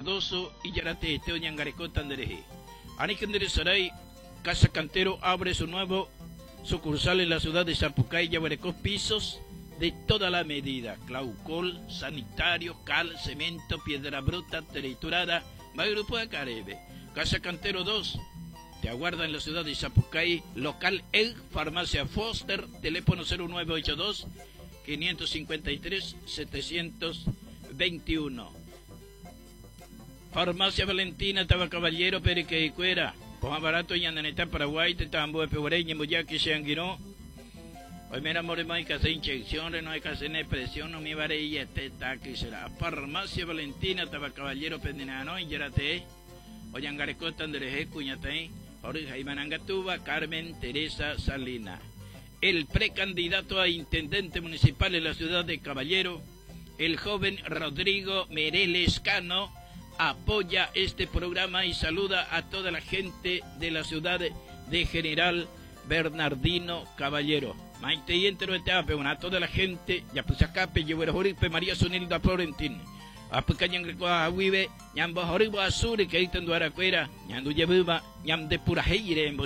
Cardoso y Yarate Oñangarekóta nderehe. Anikenderesarai Casa Cantero abre su nuevo sucursal en la ciudad de Sapucay, Yaguarecó, pisos de toda la medida, claucol, sanitario, cal, cemento, piedra bruta, triturada, va grupo de Caribe. Casa Cantero 2, te aguarda en la ciudad de Sapucay, local El Farmacia Foster, teléfono 0982 553 721. Farmacia Valentina, Tabacaballero, Periqueicuera. Poja barato y Andaneta, Paraguay, Tetambo, Pegureña, Muyaqui, Seanguiró. Hoy mira, more, no hay que hacer inyección, no hay que hacer presión, no me varilla, este taqui será. Farmacia Valentina, Tabacaballero, Pendinano, y Yarate. Oyangarecota, Andrés Cuñatay, Jorge Manangatuba, Carmen Teresa Salina. El precandidato a intendente municipal en la ciudad de Caballero, el joven Rodrigo Mereles Cano, apoya este programa y saluda a toda la gente de la ciudad de General Bernardino Caballero. Maite y entero a toda la gente, ya pues acá, María Sunilda Florentín. Apucañan Wibe, Ñambo Joribo Azuri, que ahí Duaracuera, Ñandu Yebuba, Ñam de Purajeire en.